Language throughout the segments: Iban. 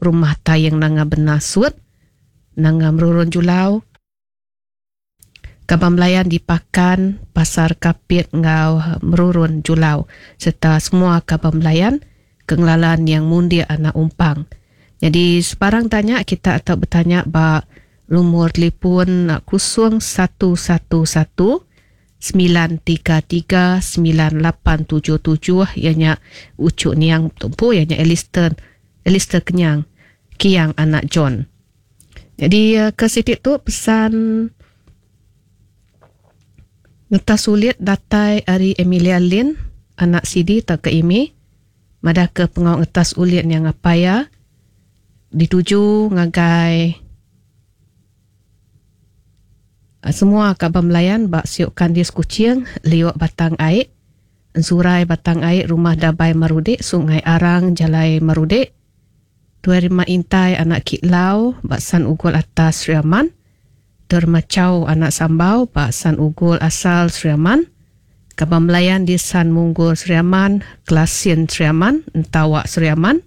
Rumah Taing Nanga Benasut, Nanga Merurun Julau, Kaban Belayan di Pakan, Pasar Kapit enggau Merurun Julau sereta semua kaban belayan ke ngelala niang Mundik anak Umpang. Nyadi sebarang tanya kita tau betanya ba lumur telefon 0111 933 9877 iya nya uchu niang tu empu iya nya Alistair Alistair Kenyang Kiang anak John. Nyadi ke siti tu pesan ngetas ulit datai ari Emilia Lin anak Sidi tauka Imi madahka pengawa ngetas ulit nya ngapai iya dituju ngagai semua kaban belayan ba Siok Kandis Kuching, Liok Batang Ai, Ensurai Batang Ai, Rumah Dabai Marudik, Sungai Arang, Jalai Marudik, Tuai Rima Intai anak Kit Lau ba San Ugol Atas Sri Aman, Tuai Rima Chau anak Sambau ba San Ugol Asal Sri Aman, Kaban Belayan di San Munggul Sri Aman, Kelasin Sri Aman, Entawak Sri Aman,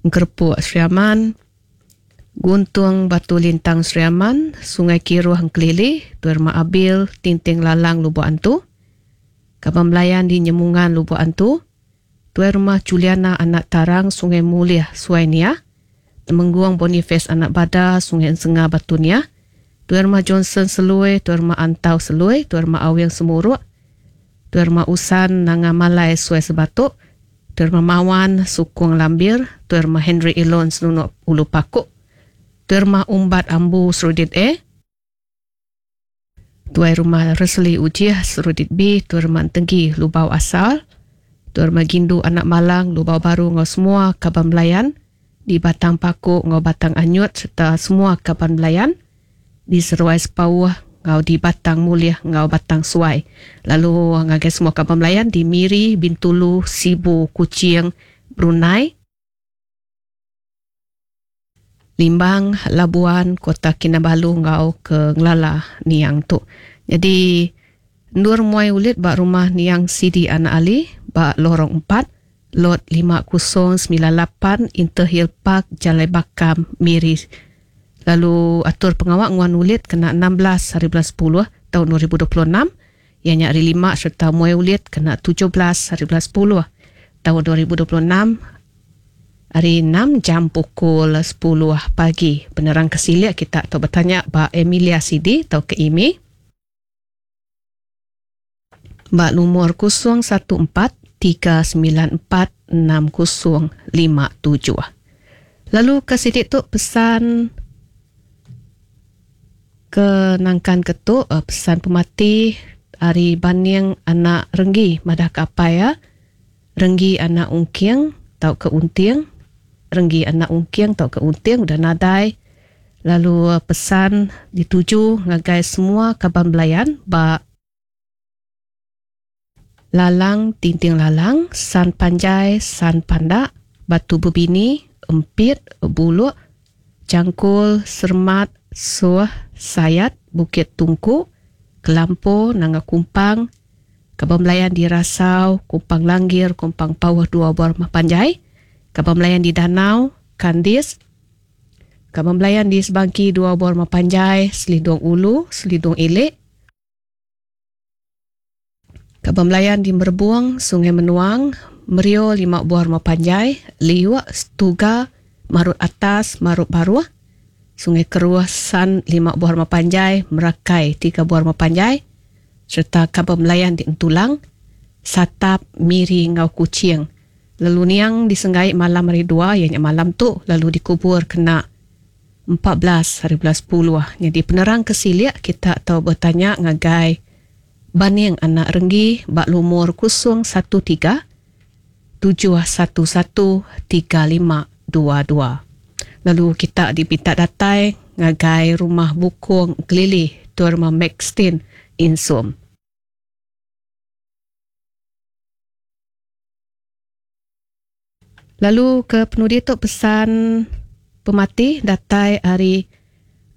Engkerepuk Sri Aman, Guntung Batu Lintang Sri Aman, Sungai Kiruh Engkelili, Tuai Rima Abil, Tinting Lalang Lubok Antu, Kaban Belayan di Nyemungan Lubok Antu, Tuai Rumah Juliana anak Tarang Sungai Mulih Suai Niah, Temenggung Boniface anak Bada Sungai Ensenga Batu Niah, Tuai Rumah Johnson Selui, Tuai Rumah Antau Selui, Tuai Rumah Awing Semuruk, Tuai Rumah Usan Nanga Malai Suai Sebatuk, Tuai Rumah Mawan Sukung Lambir, Tuai Rumah Henry Elon Senunuk Ulu Pakuk, Tuai Rumah Umbat Ambu Serudit A, Tuai Rumah Resli Ujih Serudit B, Tuai Rumah Entenggi Lubau Asal, Tuai Rumah Gindu Anak Malang Lubau Baru enggau semua kaban belayan di Batang Paku enggau Batang Anyut sereta semua kaban belayan di Seruai Sepauh enggau di Batang Mulih enggau Batang Suai lalu ngagai semua kaban belayan di Miri, Bintulu, Sibu, Kuching, Brunei, Limbang, Labuan, Kota Kinabalu enggau ke ngelala niang tu. Nyadi endur muai ulit ba rumah niang Sidi Anak Ali ba Lorong 4, Lot 5098, Interhill Park, Jalai Bakam, Miri. Lalu atur pengawa nguan ulit kena 16 hari bulan 10 taun 2026 iya nya hari lima sereta muai ulit kena 17 hari bulan 10 taun 2026 Hari enam jam pukul 10 pagi. Penerang ke silik kita tau betanya ba Emilia Sidi tauka Imi ba lumur 014 394 6057. Lalu ke siti tu pesan ke nangkan ke tu eh, pesan pemati ari Baning anak Renggi madah ke apai iya Renggi anak Ungking tauka Unting, Renggi anak Ungking tauka Unting udah nadai lalu pesan dituju ngagai semua kaban belayan ba Lalang Tinting Lalang, San Panjai, San Pandak, Batu Bebini, Empit, Buluk, Jangkul, Sermat, Suh, Sayat, Bukit Tungku, Kelampo, Nanga Kumpang, Kaban belayan di Rasau, Kumpang Langgir, Kumpang Pauh dua buah rumah panjai, Kaban belayan di Danau, Kandis, Kaban belayan di Sebangki dua buah rumah panjai, Selidung Ulu, Selidung Ilik, Kaban belayan di Merebung, Sungai Menuang, Merio lima buah rumah panjai, Liuk, Setuga, Marut Atas, Marut Baruh, Sungai Keruh, San lima buah rumah panjai, Merakai tiga buah rumah panjai, sereta kaban belayan di Entulang, Satap, Miri enggau Kuching. Lalu niang disenggai malam hari dua iya nya malam tu lalu dikubur kena 14 hari bulan 10. Nyadi penerang ke silik kita tau betanya ngagai Baning anak Renggi ba lumur 013 711 3522. Lalu kita dipinta datai ngagai rumah Bukong Gelili Tuan Rumah Maxtin Insum. Lalu ke penudi tu pesan pemati datai ari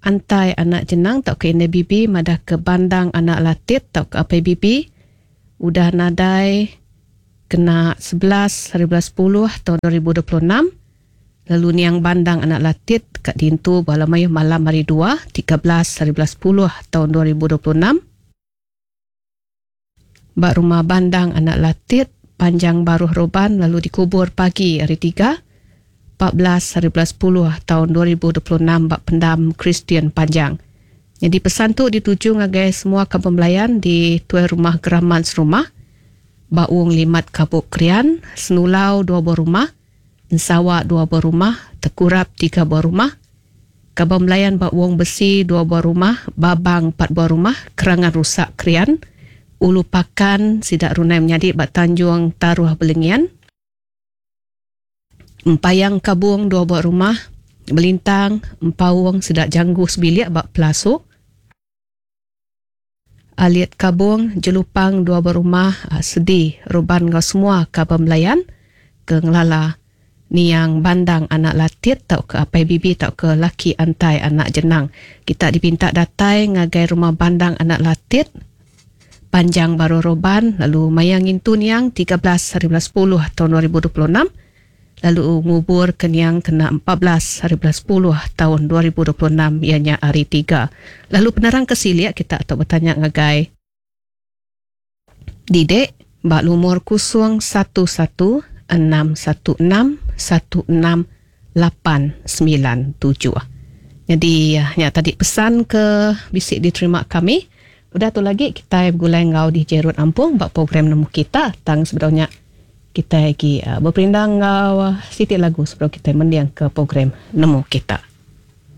Antai anak Jenang tauka Indai Bibi madah ke Bandang anak Latit tauka Apai Bibi udah nadai. kena 11 hari bulan sepuluh taun 2026 lalu niang Bandang anak Latit ka diintu bala mayuh malam hari dua 13 hari bulan sepuluh taun 2026 ba rumah Bandang anak Latit Panjang Baruh Roban lalu dikubur pagi hari tiga 14 hari bulan sepuluh taun 2026 ba Pendam Kristian Panjang. Nyadi pesan tu dituju ngagai semua kaban belayan di Tuai Rumah Geraman Serumah ba Wong Limat Kabuk Krian, Senulau dua buah rumah, Ensawa dua buah rumah, Tekurap tiga buah rumah, Kaban Belayan ba Wong Besi dua buah rumah, Babang empat buah rumah, Kerangan Rusak Krian, Ulu Pakan sida Runai menyadi ba Tanjung Taruh Belengian, Empayang Kabung dua buah rumah, Belintang, Empaung sida Janggu sebilik ba Pelasuk, Alit Kabung, Jelupang dua buah rumah, Sedi, Ruban enggau semua kaban belayan ke ngelala niang Bandang anak Latit tauka apai Bibi tauka laki Antai anak Jenang. Kita dipinta datai ngagai rumah Bandang anak Latit, Panjang Baruh Roban lalu maya ngintu niang 13 hari bulan sepuluh taun 2026 lalu ngubur ke niang kena 14 hari bulan sepuluh taun 2026 iya nya hari tiga. Lalu penerang ke silik kita tau betanya ngagai Didek ba lumur 011 616 16897. Nyadi nya tadi pesan ke bisi diterima kami. Udah tu lagi kitai begulai enggau DJ Rut Ampung ba program Nemu Kita tang sebedau nya kitai agi beperindang enggau siti lagu sebedau kitai mending ke program Nemu Kita.